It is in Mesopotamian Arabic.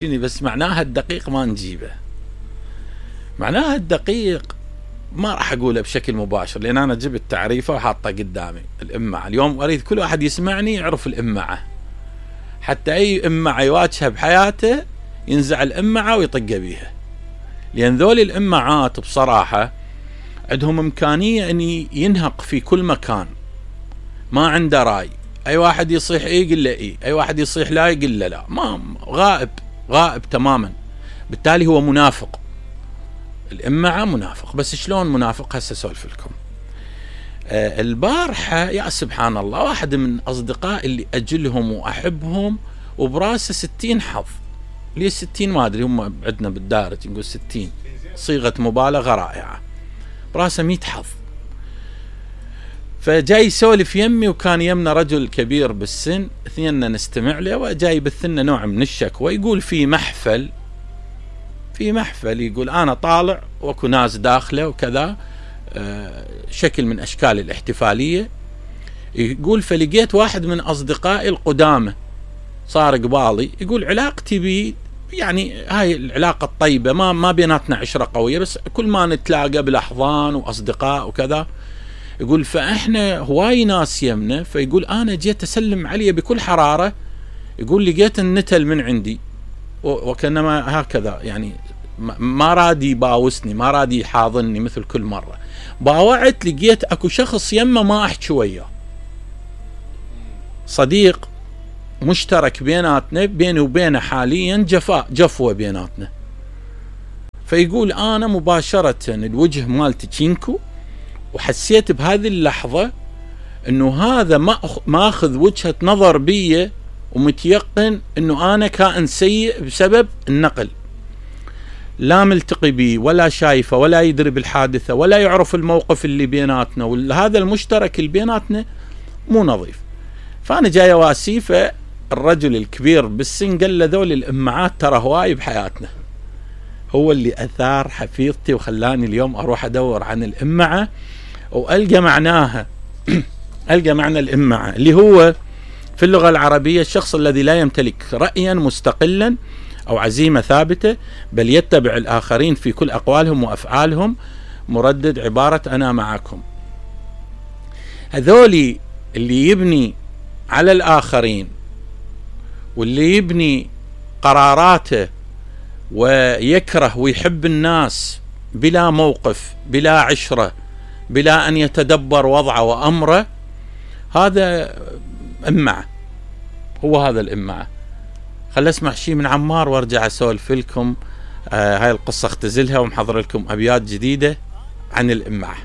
بس معناها الدقيق ما نجيبه. معناها الدقيق ما راح اقوله بشكل مباشر، لان انا جبت تعريفه وحاطه قدامي. الامعة اليوم اريد كل واحد يسمعني يعرف الامعة، حتى اي امعة يواجهها بحياته ينزع الامعة ويطق بيها، لان ذول الامعات بصراحة عندهم امكانية ان ينهق في كل مكان، ما عنده راي. اي واحد يصيح ايه يقول له ايه، اي واحد يصيح لا يقول له لا، ما غائب تماما. بالتالي هو منافق. الامعة منافق. بس شلون منافق؟ هسه اسولف لكم. البارحة يا سبحان الله، واحد من اصدقائي اللي اجلهم واحبهم وبراسه 60 حظ. ليه 60؟ ما ادري، هم عندنا بالدارج نقول 60، صيغة مبالغة رائعة. براسه 100 حظ. فجاي يسولف يمي، وكان يمنا رجل كبير بالسن، اثنيننا نستمع له، وجاي يبثلنا نوع من الشكوى. يقول في محفل يقول انا طالع واكو ناس داخله وكذا، شكل من اشكال الاحتفاليه. يقول فلقيت واحد من اصدقائي القدامى صار قبالي، يقول علاقتي بي يعني هاي العلاقه الطيبه، ما بيناتنا عشره قويه، بس كل ما نتلاقى بالاحضان واصدقاء وكذا. يقول فاحنا هواي ناس يمنا، فيقول انا جيت اسلم عليه بكل حراره، يقول لقيت النتل من عندي وكانما هكذا، يعني ما رادي يباوسني، ما رادي يحاضني مثل كل مره. باوعت لقيت اكو شخص يمه ما احكي وياه، صديق مشترك بيناتنا، بيني وبينه حاليا جفوه بيناتنا. فيقول انا مباشره الوجه مالتي تشينكو، وحسيت بهذه اللحظة انه هذا ماخذ وجهة نظر بي، ومتيقن انه انا كائن سيء بسبب النقل. لا ملتقي بي ولا شايفه ولا يدري بالحادثة ولا يعرف الموقف اللي بيناتنا، وهذا المشترك اللي بيناتنا مو نظيف. فانا جاي اواسيه، فالرجل الكبير بالسن قال له ذول الامعات ترى هواي بحياتنا. هو اللي اثار حفيظتي وخلاني اليوم اروح ادور عن الامعة والقى معناها. القى معنى الامعة اللي هو في اللغة العربية الشخص الذي لا يمتلك رأيا مستقلا او عزيمة ثابتة، بل يتبع الاخرين في كل اقوالهم وافعالهم، مردد عبارة انا معكم. هذولي اللي يبني على الاخرين، واللي يبني قراراته ويكره ويحب الناس بلا موقف، بلا عشرة، بلا أن يتدبر وضعه وأمره، هذا إمعة. هو هذا الإمعة. خل أسمع شيء من عمار وارجع أسولف لكم. هاي القصة اختزلها ومحضر لكم أبيات جديدة عن الإمعة.